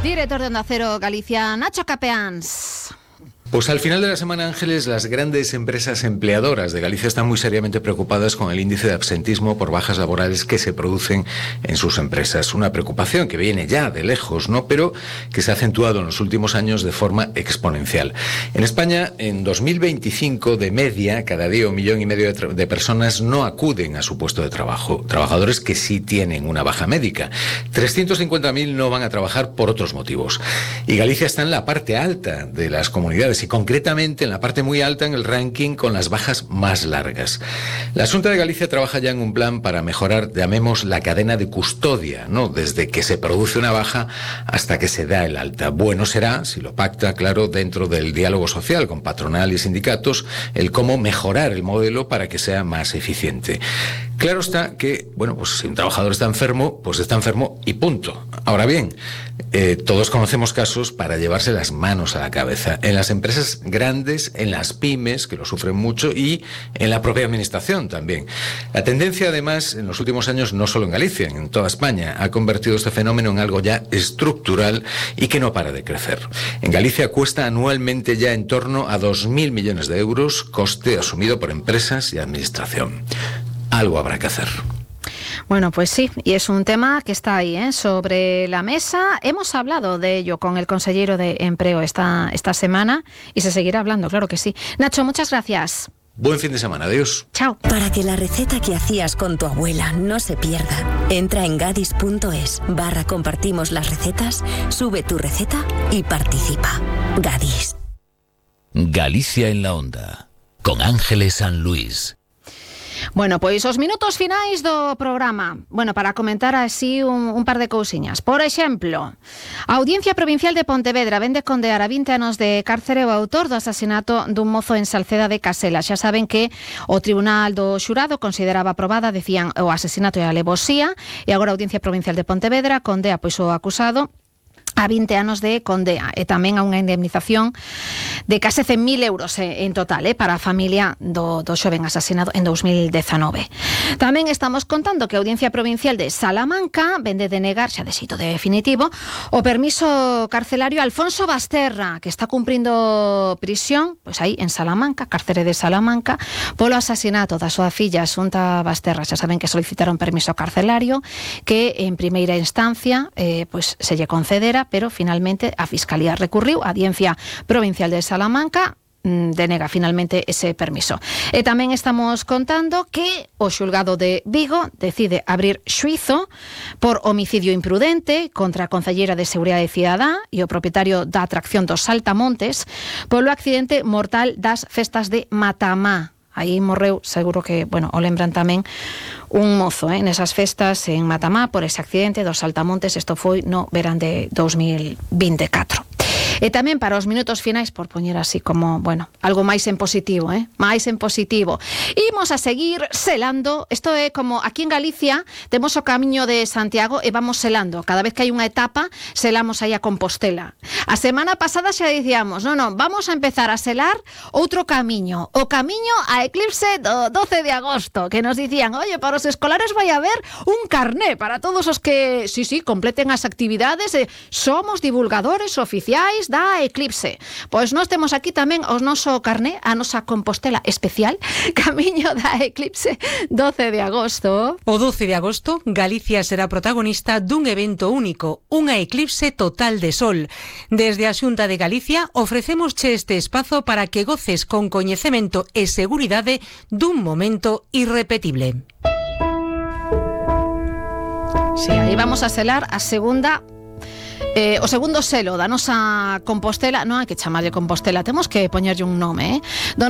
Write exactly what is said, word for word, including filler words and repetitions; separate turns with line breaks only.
Director de Onda Cero Galicia, Nacho Capeans.
Pues al final de la semana, Ángeles, las grandes empresas empleadoras de Galicia están muy seriamente preocupadas con el índice de absentismo por bajas laborales que se producen en sus empresas. Una preocupación que viene ya de lejos, ¿no? Pero que se ha acentuado en los últimos años de forma exponencial. En España, en dos mil veinticinco, de media, cada día un millón y medio de, de personas no acuden a su puesto de trabajo. Trabajadores que sí tienen una baja médica. trescientos cincuenta mil no van a trabajar por otros motivos. Y Galicia está en la parte alta de las comunidades, y concretamente en la parte muy alta en el ranking con las bajas más largas. La Xunta de Galicia trabaja ya en un plan para mejorar, llamemos, la cadena de custodia, ¿no? Desde que se produce una baja hasta que se da el alta. Bueno será, si lo pacta, claro, dentro del diálogo social con patronal y sindicatos, el cómo mejorar el modelo para que sea más eficiente. Claro está que, bueno, pues si un trabajador está enfermo, pues está enfermo y punto. Ahora bien, eh, todos conocemos casos para llevarse las manos a la cabeza. En las empresas grandes, en las pymes, que lo sufren mucho, y en la propia administración también. La tendencia, además, en los últimos años, no solo en Galicia, en toda España, ha convertido este fenómeno en algo ya estructural y que no para de crecer. En Galicia cuesta anualmente ya en torno a dos mil millones de euros, coste asumido por empresas y administración. Algo habrá que hacer.
Bueno, pues sí, y es un tema que está ahí, ¿eh? sobre la mesa. Hemos hablado de ello con el consejero de Empleo esta, esta semana y se seguirá hablando, claro que sí. Nacho, muchas gracias.
Buen fin de semana, adiós.
Chao.
Para que la receta que hacías con tu abuela no se pierda, entra en gadis.es barra compartimos las recetas, sube tu receta y participa. Gadis.
Galicia en la Onda, con Ángeles San Luis.
Bueno, pois os minutos finais do programa. Bueno, para comentar así un, un par de cousiñas. Por exemplo, a Audiencia Provincial de Pontevedra vende condear a vinte anos de cárcere o autor do asasinato dun mozo en Salceda de Casela. Xa saben que o Tribunal do Xurado consideraba aprobada, decían, o asesinato e a alevosía, e agora a Audiencia Provincial de Pontevedra condea pois o acusado a vinte anos de condea e tamén a unha indemnización de case cen mil euros en total eh, para a familia do, do xoven asasinado en dos mil dezanove. Tamén estamos contando que a Audiencia Provincial de Salamanca vende denegar, xa de xeito definitivo, o permiso carcelario a Alfonso Basterra, que está cumprindo prisión, pois aí en Salamanca, cárcere de Salamanca, polo asasinato da súa filla Xunta Basterra. Xa saben que solicitaron permiso carcelario, que en primeira instancia eh, pois se lle concedera, pero finalmente a Fiscalía recurriu, a Audiencia Provincial de Salamanca denega finalmente ese permiso. E tamén estamos contando que o xulgado de Vigo decide abrir xuízo por homicidio imprudente contra a concelleira de Seguridade Cidadá e o propietario da atracción dos Saltamontes polo accidente mortal das festas de Matamá. Aí morreu, seguro que, bueno, o lembran tamén, un mozo, eh, nesas festas en Matamá por ese accidente dos Saltamontes. Isto foi no verán de dos mil vinte e catro. E tamén para os minutos finais, por poñer así como, bueno, algo máis en positivo, eh? máis en positivo. Imos a seguir selando. Isto é como aquí en Galicia temos o Camiño de Santiago e vamos selando. Cada vez que hai unha etapa, selamos aí a Compostela. A semana pasada xa dicíamos, non, non, vamos a empezar a selar outro camiño, o Camiño a Eclipse do doce de agosto, que nos dicían, oye, para os escolares vai haber un carné para todos os que, sí, sí, completen as actividades, eh, somos divulgadores oficiais da Eclipse. Pois nós temos aquí tamén o noso carné, a nosa Compostela especial, Camiño da Eclipse, doce de agosto.
O doce de agosto, Galicia será protagonista dun evento único, unha eclipse total de sol. Desde a Xunta de Galicia ofrecémosche este espazo para que goces con coñecemento e seguridade dun momento irrepetible.
Sí, aí vamos a selar a segunda Eh, o segundo selo da nosa Compostela. Non hai que chamarlle Compostela, temos que poñerlle un nome, eh? Do